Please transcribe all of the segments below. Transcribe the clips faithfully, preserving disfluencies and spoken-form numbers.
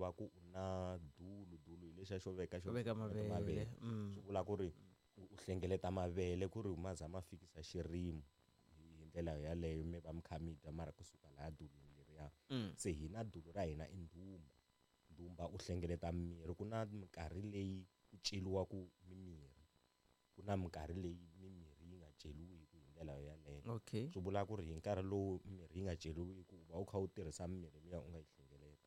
va ku u na dulu dulu hi lexiya xo veka xo veka mavele mavele mm. swi vula ku ri u u hlengeleta mavele ku ri ma za ma fikisa xirimo hi ndlela yaleyo mi va mi kha mi dya mara kusuka laya dulwini leriya. Mm. Se hina dulu ra hina i ndhumba ndhumba u hlengeleta mirhi ku na minkarhi leyi ku ceriwaku mimirhi ku na minkarhi leyi mimirhi yi nga ceriwiki hi ndlela yaleyo. Okay. Swi vula ku ri hi nkarhi lowu mirhi yi nga ceriwiki u va u kha u tirhisa mimirhi liya u nga yi hlengeleta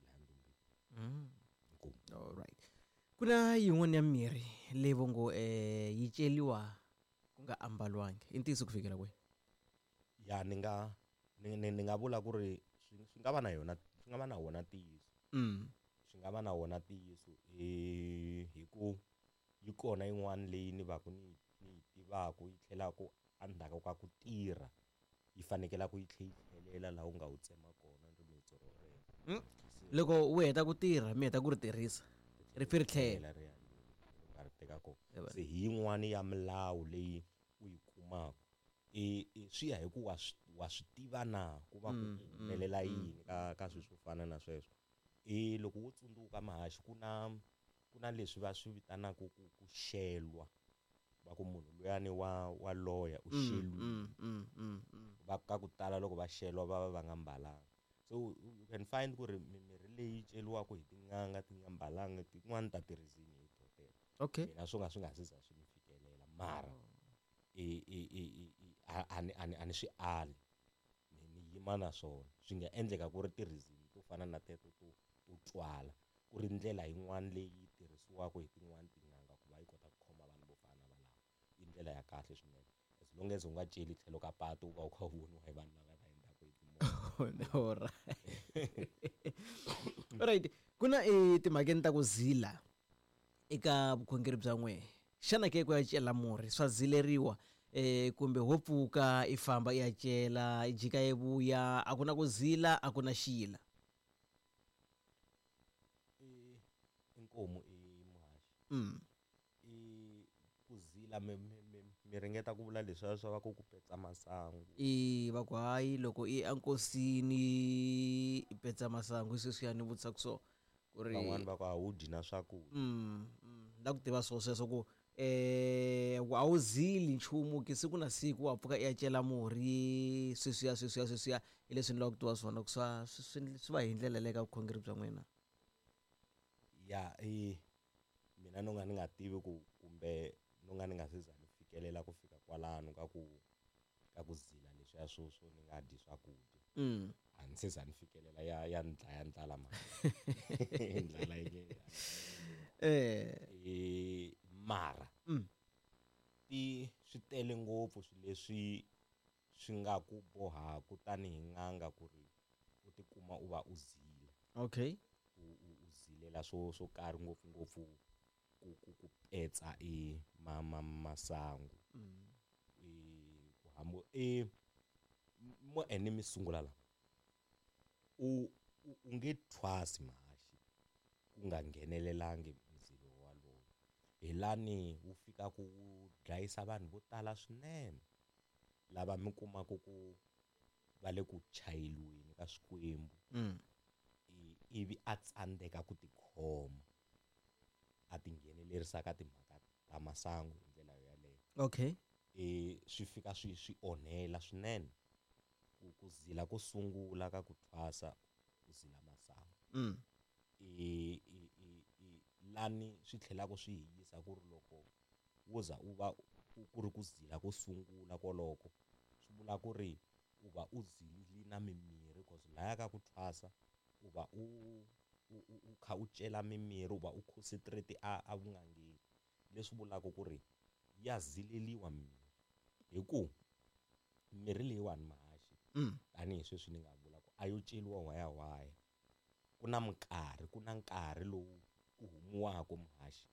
laha ndumbeni. Mm. Inkomu. All right. Ku na yin'wana ya mirhi leyi vo ngo eh yi celiwa ku nga ambalwangi i ntiyiso ku fikela kwihi? Ya ni nga ni ni ni nga vula ku ri swi swi nga va na yona swi nga va na wona ntiyiso. Mm. Swi nga va na wona ntiyiso eh hi ku yi kona yin'wana leyi ni va ku ni ni yi tivaku yi tlhelaku endzhaku ka ku tirha yi fanekela ku yi tlhe yi tlhelela laha u nga wu tsema kona rimitsu rorero. Mm. Loko u heta ku tirha mi heta ku ri tirhisa ri pfi ri tlhela ri ya u nga ri teka kona. Yebo. Se hi yin'wani ya milawu leyi u yi kumaka i i swi ya hi ku wa swi wa swi tiva na ku va ku Mm, humelela mm, yini ka ka swilo swo fana na sweswo. E loko wo tsundzuka mahaxi ku na ku na leswi va swi vitanaka ku ku xelwa va ku munhu luyani wa wa loya u Mm, xeliwile. mm, mm, mm, mm. Va ka ku tala loko va xelwa va va va nga mbalanga. So you can find ku ri mimirhi leyi ceriwaka hi tin'anga ti nga mbalanga tin'wani ta ti-reason hi to teto. Okay. Mina swo nga swi nga se za swi ni fikelela mara i i i i a a ni a ni a ni swi ali ni ni yima na swona swi nga endleka ku ri ti-reason to fana na teto to to twala ku ri ndlela yin'wana leyi tirhisiwaka hi tin'wani tin'anga ku va yi kota ku khoma vanhu vo fana na valava i ndlela ya kahle swinene as long as u nga celi tlhelo ka patu u va u kha u voniwa hi vanhu lava va hundzaka hi timovha. Alright. Alright. Ku na etimhakeni ta ku zila eka vukhongeri bya n'wehe xana ke ku ya cela murhi swa zileriwa eh kumbe ho pfuka i famba i ya cela i jika i vuya a ku na ku zila a ku na xila? I inkomu i muhaxi. Mm. I ku zila mi mi mi mi ringeta ku vula leswiya swa va ku ku petsa masangu. I va ku hayi loko i enkosini i petsa masangu hi sweswiya ni vutisaka so ku ri van'wani va ku a wu dyi na swakudya. Mm, mm, la ku tiva swo sweswo ku eh a wu zili nchumu ke siku na siku wa pfuka i ya cela murhi sweswiya sweswiya sweswiya hi leswi ni lavaka ku tiva swona ku swa swi swi va hi ndlela leyi ka vukhongeri bya n'wina. Ya i mina no nga ni nga tivi ku kumbe no nga ni nga se za ni fikelela ku fika kwalano ka ku ka ku zila leswiya swo swo ni nga dyi swakudya. Mm. A ni se za ni fikelela ya ya ni dlaya ndlala mhani. Ndlala yi nge Eh e mara mm. ti swi tele ngopfu swilo leswi swi nga ku bohaka tanihi n'anga ku ri u tikuma u va u zila. Okay. U u u zilela swo swo karhi ngopfungopfu ku ku ku petsa e ma ma masangu. Mm. E ku hambi e mo ene mi sungula la u u u nge thwasi mahaxi ku nga nghenelelangi ndzilo walowo hi lani wu fika ku dlayisa vanhu vo tala swinene lava mi kumaka ku va le ku chayeliweni ka swikwembu. Mm. Ivi a tsandzeka ku tikhoma a tinghenelerisa ka timhaka ta masangu hi ndlela yaleyo. Okay. E swi fika swi swi onhela swinene ku ku zila ko sungula ka ku thwasa u zila masangu. Mm. E i i i lani swi tlhelaka swi hi yisa ku ri loko wo za u va ku ri ku zila ko sungula koloko swi vula ku ri u va u zilile na mimirhi cause laya ka ku thwasa u va u u u kha u cela mimirhi u va u concentrate a a vun'angeni leswi vulaka ku ri ya zileliwa mimirhi hi ku mirhi leyiwani mahaxi Mm. tanihi sweswi ni nga vula ku a yo celiwa whayawhaya ku na minkarhi ku na nkarhi lowu ku humiwaka muhaxi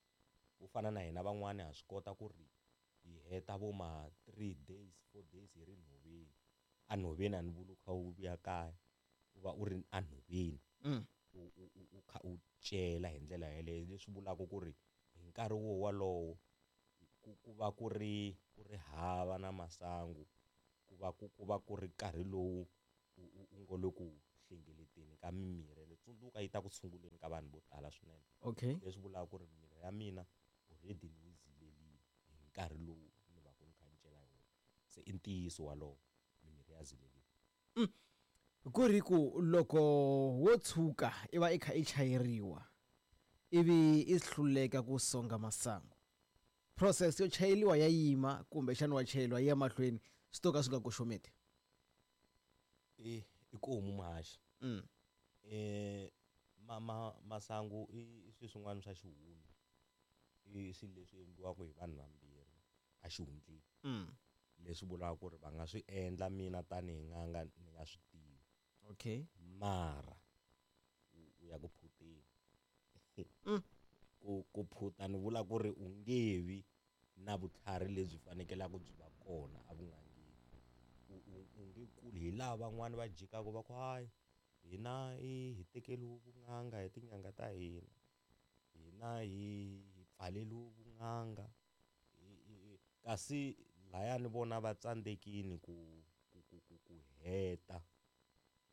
wo fana na hina van'wani ha swi kota ku ri hi heta vo ma three days four days hi ri nhoveni a nhoveni a ni vuli u kha u vuya kaya u va u ri enhoveni Mm. u u u u kha u cela hi ndlela yeleyo leswi vulaka ku ri hi nkarhi wo walowo ku ku va ku ri ku ri hava na masangu ku va ku ku va ku ri nkarhi lowu u u u ngo le ku hlengeleteni ka mimirhi ene tsundzuka yi ta ku tshunguleni ka vanhu vo tala swinene. Okay. Leswi vulaka ku ri mimirhi ya mina already ni yi zilelile hi nkarhi lowu ni va ku ni kha ni cela hi wona. Se i ntiyiso walowo mimirhi ya zileliwa. Mm. Ku ri ku loko wo tshuka i va i kha i chayeriwa ivi i hluleka ku songa masangu, process yo chayeliwa ya yima kumbexana wa chayeliwa yi ya mahlweni swi to ka swi nga koxometi? I i ku muhaxi. Mm. Eh ma, ma, masangu i swilo swin'wana swa xihundla, i swilo leswi endliwaka hi vanhu vambirhi a xihundleni. Mm. Leswi vulaka ku ri va nga swi endla mina tanihi n'anga ni nga swi tivi. Okay. Mara u ya ku phuteni. Mm. Ku, ku phuta ni vula ku ri u nge vi na vutlhari lebyi fanekelaka byi va kona evun'angeni. U, u, u nge kuli hi laha van'wani va jikaka va ku hayi hina i hi tekeriwe vun'anga hi tin'anga ta hina, hina hi, hi pfaleriwe vun'anga. Kasi layani vona va tsandzekile ku, ku, ku, ku, ku heta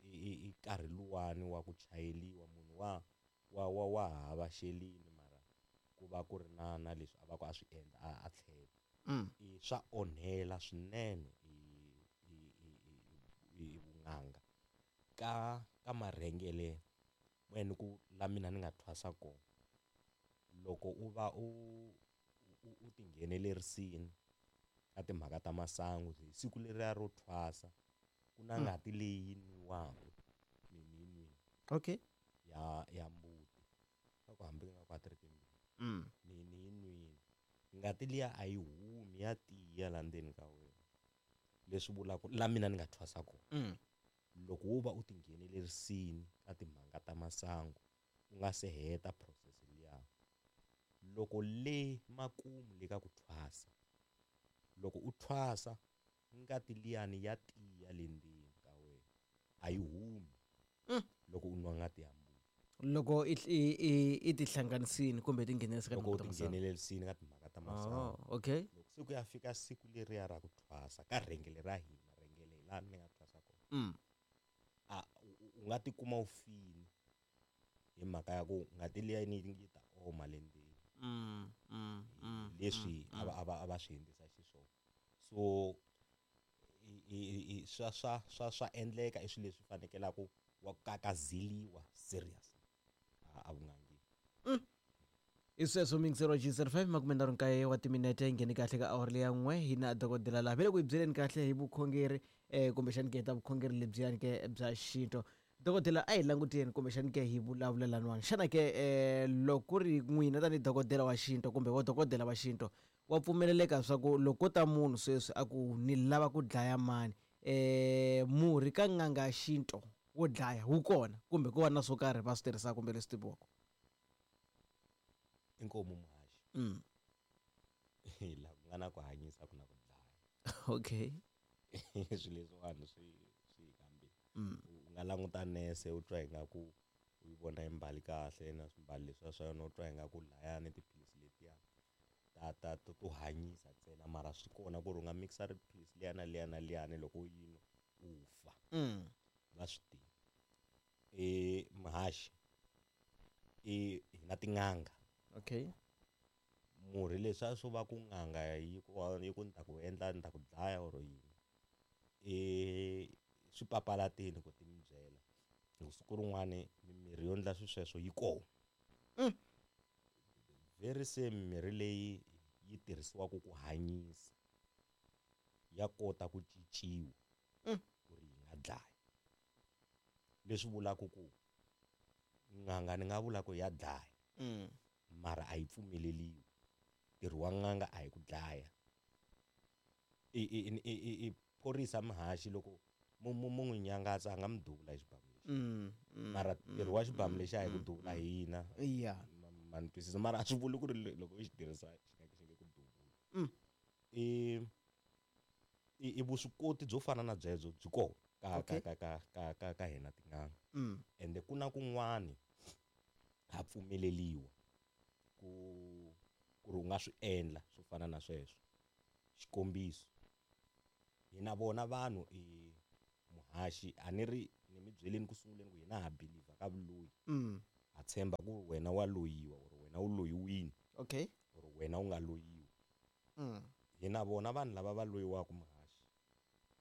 i, i nkarhi luwani wa ku chayeliwa munhu wa, wa, wa, wa hava xelini mara ku va ku ri na, na leswi a va ku a swi endla a, a tlhela. Mm. I swa onhela swinene i, i, i, i, i vun'anga ka, ka marhengele wena ku la mina ni nga thwasa kona. Loko u va u, u, u tinghenelerisini ka timhaka ta masangu hi siku leriya ro thwasa ku na Mm. ngati leyi nwiwaka ni ni nwi Okay. ya, ya mbuti ka ku hambi nga ku a ti ri timbirhi. Mm. Ni, ni yi nwini ngati liya a yi humi ya tiya la ndzeni ka wena, leswi vulaka la mina ni nga thwasa kona. Mm. Loko wo va u tinghenelerisini ka timhaka ta masangu u nga se heta process liya, loko le makumu le ka ku thwasa, loko u thwasa ngati liyani ya tiya le ndzeni ka wena a yi humi. Mm. Loko u nwa ngati ya mbuti, loko i, i, i, i tihlanganisini kumbe i tinghenelerisa ka loko u timhaka ta masangu. tinghenelerisini ka timhaka ta masangu. Oh, okay. Loko se ku ya fika siku leriya ra ku thwasa ka rhengele ra hina, rhengele laha ni nga thwasa kona. Mm. A, u, u, u nga tikuma u fini hi mhaka ya ku ngati liya yi yi ta oma le ndzeni. Mm, mm, mm, Leswi mm, a va, mm. a va, a va swi endlisa xiswona. So i, i, i, i, swa, swa, swa, swa endleka i swilo leswi fanekelaka wa kakazeliwa serious a, a vun'angeni. Mm. I sweswo mingisero G zero five makume nharhu nkaye wa timinete yi nghene kahle ka awara leya n'we hi na dokodela laha ve le ku hi byeleni kahle hi vukhongeri, eh, kumbexani ke ta vukhongeri lebyiyani ke bya xintu. Dokodela a hi languteni kumbexani ke hi vulavula laniwani. Xana ke, eh, loko ku ri n'wina tanihi dokodela wa xintu kumbe wa dokodela wa xintu wa pfumeleleka swa ku loko ko ta munhu sweswi a ku ni lava ku dlaya mani, eh, murhi ka n'anga ya xintu wo dlaya wu kona kumbe ku va na swo karhi va swi tirhisaka kumbe leswi tiviwaka? Inkomu muhaxi. Mm. Laha ku nga na ku hanyisa ku na ku dlaya. Okay. Swilo leswiwani swi, swi hi kambile. Mm. U nga languta nese u twa ingaku u yi vona yi mbali kahle na swimbalo leswiya swa yona u twa ingaku layani tiphilisi letiya ta, ta, to, to hanyisa ntsena, mara swi kona ku ri u nga mixa tiphilisi liya na liya na liyani loko u yi nwa u fa. Mm. Va swi tivi. E, muhaxi, e, hi na tin'anga. Okay. Murhi leswiya swo va ku n'anga yi ku, yi ku ni ta ku endla ni ta ku dlaya or yini, e, swi papalateni ku ti mi byela. Hi ku siku rin'wani mimirhi yo endla swilo sweswo yi kona. Mm. Very same mirhi leyi yi tirhisiwaka ku hanyisa ya kota ku cinciwa Mm. ku ri yi nga dlaya. Leswi vulaka ku n'anga ni nga vula ku ya dlaya. Mm. Mara a yi pfumeleliwi. Ntirho wa n'anga a hi ku dlaya. I, i, i, i, i, i phorisa muhaxi loko mu, mu, mu n'wi nyangatsa a nga mi duvula hi xibamu lexi. Mm, mm, Mara mm, ntirho wa xibamu mm, lexi a hi ku mm, duvula mm. hina. Yeah. Ma, ma ni twisisa. Mara a swi vuli ku ri loko u xi tirhisa xi nga xi nge ku duvuli. Mm. I, i, i vuswikoti byo fana na byebyo byi kona ka, Okay. ka, ka, ka, ka, ka hina tin'anga. Mm. Ende ku na kun'wani ha pfumeleliwa ku, ku ri u nga swi endla swo fana na sweswo. Xikombiso, hina vona vanhu i muhaxi a ni ri ni mi byeleni ku sunguleni ku hina ha believe ka vuloyi. Mm. Ha tshemba ku wena wa loyiwa or wena u loyiwini. Okay. Or wena u nga loyiwa. Mm. Hina vona vanhu lava va loyiwaka muhaxi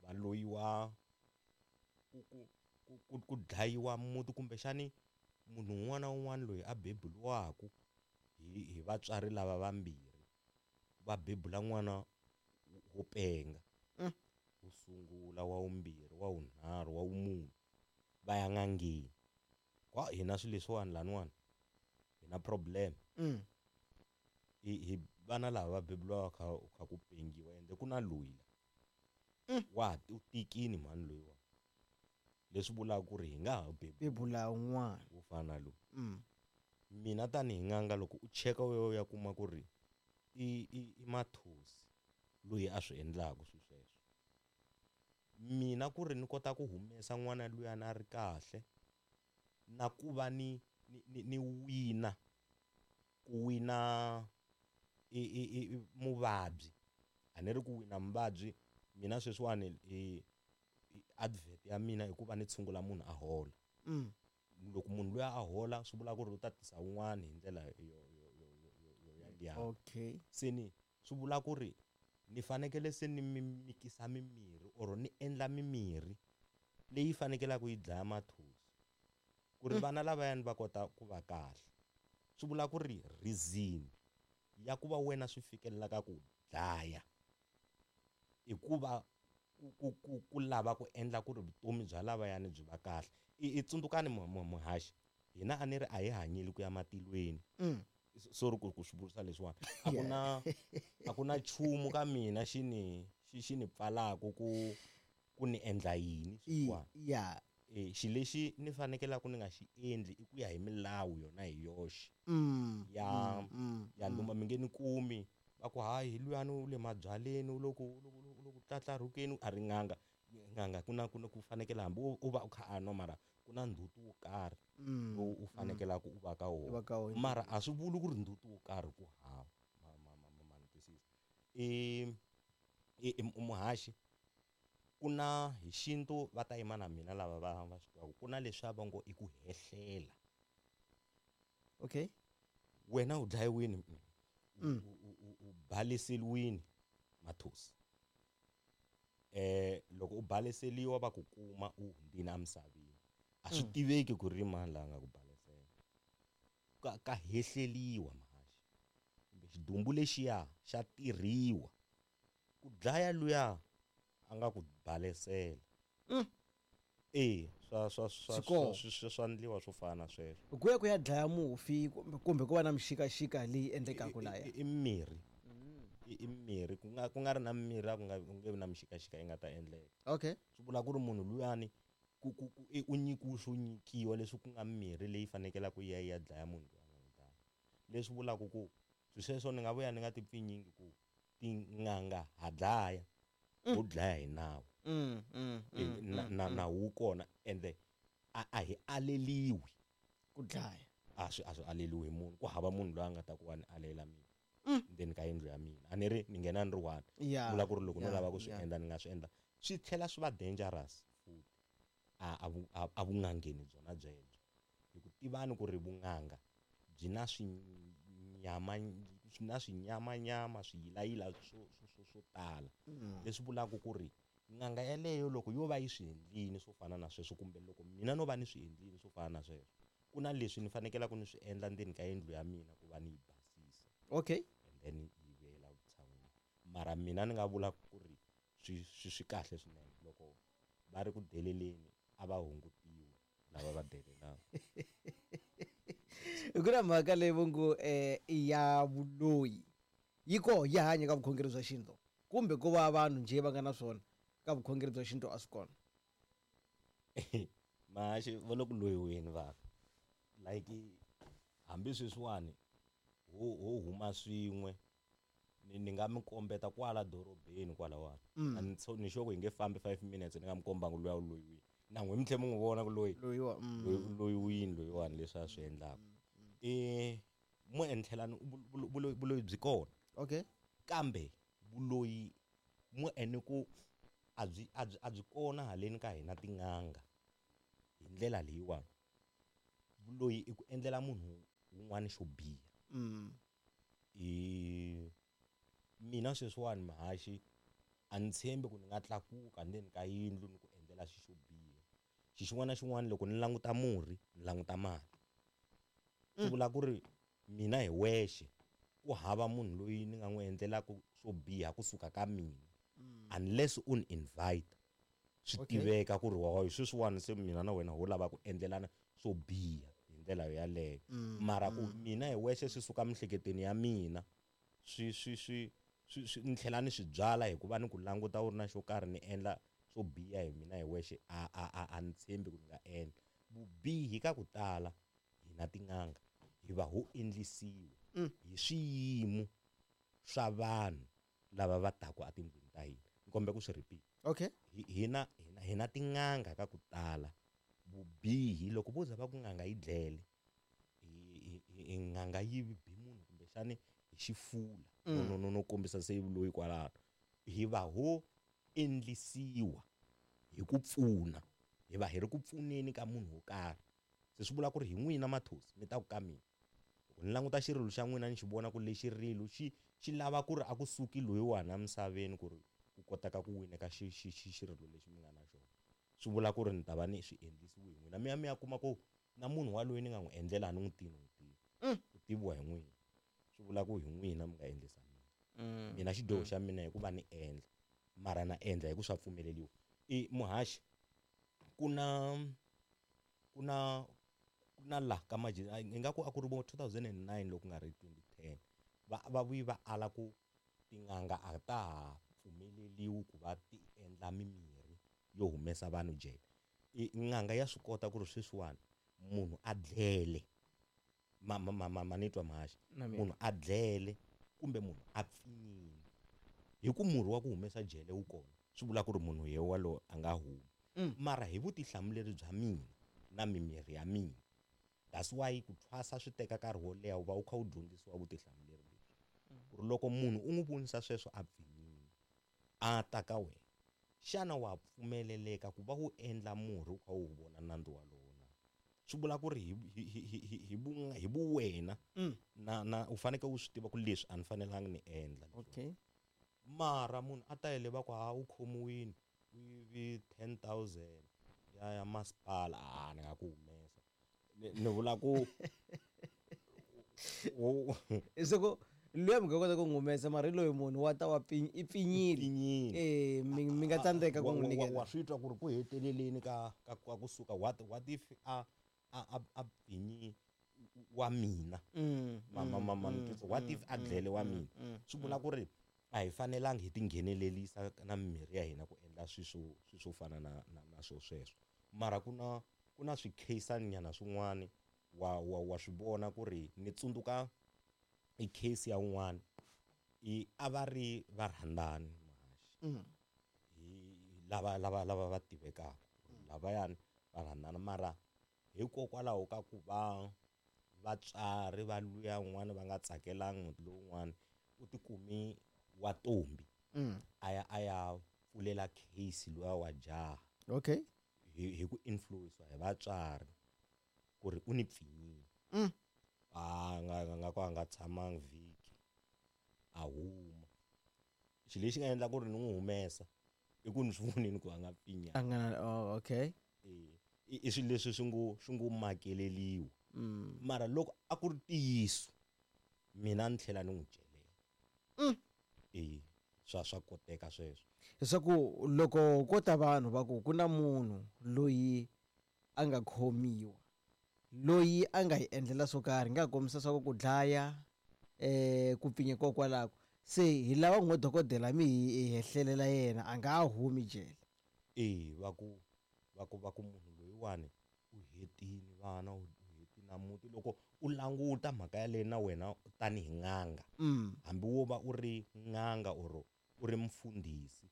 va loyiwa ku ku ku ku ku dlayiwa muti kumbexani munhu un'wana na un'wana loyi a beburiwaka hi hi vatswari lava vambirhi va bebula n'wana wo penga. Mm. Wo sungula, wa vumbirhi, wa vunharhu, wa vumune va ya n'angeni. Kwa hina swilo leswiwani laniwani hi na problem. Mm. Hi hi vana lava va beburiwaka kha kha ku pengiwa ende ku na loyi la. Mm. Wa u tikini mhani loyiwa. Leswi vulaka ku ri hi nga ha bebuli bebula un'wana wo fana na loyi. Mm. Mina tanihi n'anga loko u cheka u ya kuma ku ri i i i mathosi loyi a swi endlaka swilo sweswo. Mina ku ri ni kota ku humesa n'wana luyani a ri kahle na ku va ni ni ni, ni wina ku wina i i i muvabyi. A ni ri ku wina muvabyi mina sweswiwani i advert ya mina i ku va ni tshungula munhu a hola. Mm. Loko munhu luya a hola swi vula ku ri u ta tisa wun'wani hi ndlela yo yo yo yo yo ya liya. Okay. Se ni swi vula ku ri ni fanekele se ni mi mikisa mimirhi or ni endla mimirhi leyi fanekelaka yi dlaya mathosi ku ri Mm. vana lavayani va kota ku va kahle. Swi vula ku ri reason ya ku va wena swi fikelelaka ku dlaya i ku va ku ku ku ku lava ku endla ku ri vutomi bya lavayani byi va kahle. I i tsundzukani muhaxi hina a ni ri a hi hanyeli ku ya matilweni. Mm. Sorry ku ku swi vurisa leswiwani. A ku na a ku na nchumu ka mina xi ni xi xi ni pfalaka ku ku ni endla yini sweswiwani. Yeah. E xi lexi ni fanekelaka ni nga xi endli i ku ya hi milawu yona hi yoxe. Mm. Ya Mm. ya nduma mi nge ni kumi va ku hayi hi luyani u le mabyaleni u le ku u le ku tlatlarhukeni a ri n'anga. N'anga ku na ku na ku fanekele hambi u va u kha a nwa mara ku na ndzhuti wo karhi Mm. lowu u fanekelaka u va ka U va wona. ka wona. Mara a swi vuli ku ri ndzhuti wo karhi ku hava. Ma ma ma ma ni twisisa. I i muhaxi ku na hi xintu va ta yima na mina lava va va swi tivaka ku na leswiya va ngo i ku hehlela. Okay. Wena u dlayiwini Mm. u u u baleseliwini mathosi. Eh loko u baleseliwa va ku kuma u hundzile emisaveni. A swi Mm. tiveki ku ri mani la nga ku balesela. Ka ka hehleliwa muhaxi. Kumbe xidumbu lexiya xa tirhiwa ku dlaya luya a nga ku balesela. Mm. Eh swa swa swa Swi kona. swa swa swa ndliwa swo fana na sweswo. Ku ya ku ya dlaya mufi kumbe kumbe ku va na mixikaxika leyi endlekaka laya. I mirhi. I mirhi ku nga ku nga ri na mirhi a ku nga nge vi na mixikaxika yi nga ta endleka. Okay. Swi vula ku ri munhu luyani ku ku ku u nyikiwe swo nyikiwa leswi ku nga mirhi leyi fanekelaka yi ya yi ya dlaya munhu loyi a nga n'wi dlaya. Leswi vulaka ku swilo sweswo ni nga vuya ni nga ti pfinyingi ku tin'anga ha dlaya ho dlaya hi nawu. Mm, mm, mm, Na na nawu wu kona ende a a hi aleliwi ku dlaya. A swi a swi aleliwi hi munhu ku hava munhu loyi a nga ta ku wa ni alela mina. Mm. Ndzeni ka yindlu ya mina. A ni ri ni nghena ni ri one. Yeah. Vula ku ri loko no Yeah, lava ku swi yeah. endla ni nga swi endla. Swi tlhela swi va dangerous futhi. A a vu a vun'angeni byona byebyo. Hi ku tivani ku ri vun'anga byi na swinyama swi na swinyamanyama swiyilayila swo swo swo swo tala. Mm. Leswi vulaka ku ri n'anga yeleyo loko yo va yi swi endlile swo fana na sweswo kumbe loko mina no va ni swi endlile swo fana na sweswo ku na leswi ni fanekelaka ni swi endla ndzeni ka yindlu ya mina ku va ni yi basisa. Okay. And then yi vuyela vutshan'wini. Mara mina ni nga vula ku ri swi swi swi kahle swinene loko va ri ku deleleni a va hungutiwi lava va delelaka. Ku na mhaka leyi vo ngo eh ya vuloyi yi koho ya hanya ka vukhongeri bya xintu kumbe ko va vanhu njhe va nga na swona ka vukhongeri bya xintu a swi kona. Mahaxi va le ku loyiweni vanhu. Like hambi sweswiwani ho ho huma swin'we ni ni nga mi kombeta kwala dorobeni kwalawani. Mm. A ni so ni sure ku hi nge fambi five minutes ni nga mi kombangi luya u loyiwile. Na n'we mi tlhe mi n'wi vona ku loyi Loyiwa, mm. loyi u loyiwile loyiwani leswi a swi endlaka. Eh mo endlela ni vuloyi vuloyi byi kona. Okay. Kambe vuloyi mo ene ku a byi a byi a byi kona haleni ka hina tin'anga. hi ndlela leyiwani vuloyi i ku endlela munhu wun'wana xo biha. Mm. I mina sweswiwani Mahaxi a ni tshembi ku ni nga tlakuka ndzeni ka yindlu ni ku endlela xi xo biha. Xi xin'wana na xin'wana loko ni languta murhi ni languta mali. Swi vula ku ri mina hi wexe ku hava munhu loyi ni nga n'wi endlelaka swo biha kusuka ka mina unless u ni invite. Swi Okay. tiveka ku ri wa sweswiwani se mina na wena ho lava ku endlelana swo biha hi ndlela yaleyo. Mara ku mina hi wexe swi suka miehleketweni ya mina swi swi swi swi swi ni tlhela ni swi byala hikuva ni ku languta u ri na xo karhi ni endla swo biha hi mina hi wexe a a a a ni tshembi ku ni nga endla. Vubihi ka ku tala hina tin'anga hi va ho endlisiwa hi swiyimo swa vanhu lava va taku etindlwini ta hina. Ni kombela ku swi repeat. Okay. Hi hina hina hina tin'anga ka ku tala vubihi loko vo za va ku n'anga yi dlele hi hi n'anga yi bi munhu kumbexani hi xifula no no no kombisa se loyi kwalano hi va ho endlisiwa hi ku pfuna hi va hi ri ku pfuneni ka munhu wo karhi. Se swi vula ku ri hi n'wina Mathosi mi ta ku ka mina loko ni languta xirilo xa n'wina ni xi vona ku lexi rilo xi xi lava ku ri a kusuki loyiwani emisaveni ku ri ku kotaka ku wineka xi xi xi xirilo lexi mi nga na xona. Swi vula ku ri ni ta va ni swi endlisiwe hi n'wina mi ya mi ya kuma ku na munhu waloye ni nga n'wi endlela a ni n'wi tivi ni n'wi tivi u tiviwa hi n'wina. Swi vula ku hi n'wina mi nga endlisa mina. Mina xidyoho xa mina hi ku va ni endla mara na endla hi ku swa pfumeleliwa. I Muhaxi ku na ku na ku na la ka maji ingaku a ku ri vo two thousand and nine loko ku nga ri twenty ten va va vuyi va ala ku tin'anga a ta ha pfumeleliwi ku va ti endla mimirhi yo humesa vanhu jele. I n'anga ya swi kota ku ri sweswiwani munhu a dlele ma ma ma ma ni twa Mahaxi munhu a dlele kumbe munhu a pfinyile hi ku murhi wa ku humesa jele wu kona swi vula ku ri munhu ye walowo a nga humi. Mara hi vutihlamuleri bya mina na mimirhi ya mina that's why ku thwasa swi teka nkarhi wo leha u va u kha u dyondzisiwa vutihlamuleri lebyi ku ri loko munhu u n'wi vonisa sweswo a pfinyile a ta ka wena xana wa pfumeleleka ku va u endla murhi u kha u wu vona nandzu walowo na? Swi vula ku ri hi hi hi hi hi vu hi vuwena na na u fanekele u swi tiva ku leswi a ni fanelangi ni endla. Okay. Mara munhu a ta yele va ku ha u khomiwile u yivi ten thousand ya ya masipala a ni nga ku humesa ni ni vula ku Leswaku luya mi nga kota ku n'wi humesa mara hi loyi munhu wa ta wa pfi i pfinyile. Pfinyile. Eh mi mi nga tsandzeka ku n'wi nyiketa. Wa swi twa ku ri ku heteleleni ka ka ka kusuka what what if a a a a pfinyi wa mina ma ma ma ma what if a dlele wa mina swi vula ku ri a hi fanelangi hi tinghenelelisa na mimirhi ya hina ku endla swi swo swi swo fana na na na swo sweswo. Mara ku na ku na swikheyisani nyana swin'wani wa wa wa swi vona ku ri ni tsundzuka i case ya un'wana i a va ri varhandzani Mahaxi hi lava lava lava va tivekaka lavayani va rhandzana mara hikokwalaho ka ku va vatswari va luya un'wana va nga tsakelangi lowun'wana u tikumi wa ntombi a ya a ya pfulela case luya wa jaha. Okay. Hi hi ku influence hi vatswari ku ri u ni pfinyile. A nga nga ku a nga tshamangi vhiki a huma. Xilo lexi nga endla ku ri ni n'wi humesa i ku ni swi vonile ku a nga pfinyanga. A nga oh okay. E i swilo leswi swi ngo swi ngo makeleliwa. Mara loko a ku ri ntiyiso mina ni tlhela ni n'wi celela. E swa swa koteka sweswo. Leswaku loko ko ta vanhu va ku ku na munhu loyi a nga khomiwa loyi a nga hi endlela swo karhi nga kombisa swa ku dlaya eh ku pfinya kokwalako se hi lava n'we dokodela mi hi hehlelela yena a nga humi jele. E va ku va ku va ku munhu loyiwani u hetini vana u hetini na muti loko u languta mhaka yaleyo na wena tanihi n'anga hambi wo va u ri n'anga or u ri mfundhisi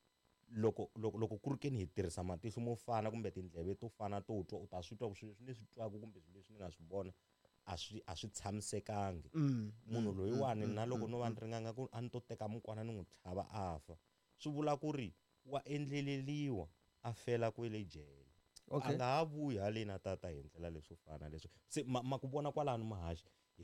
loko loko loko ku ri ke ni hi tirhisa matihlo mo fana kumbe tindleve to fana to twa u ta swi twa ku swilo leswi ni swi twaka kumbe swilo leswi ni nga swi vona a swi a swi tshamisekangi. Munhu loyiwani na loko no va ni ri n'anga ku a ni to teka mukwana ni n'wi tlhava a fa swi vula ku ri wa endleleliwa a fela kwele jele. A Okay. nga ha vuyi haleni a tata hi ndlela leswo fana leswo. Se ma, ma ku vona kwalano mahaxi.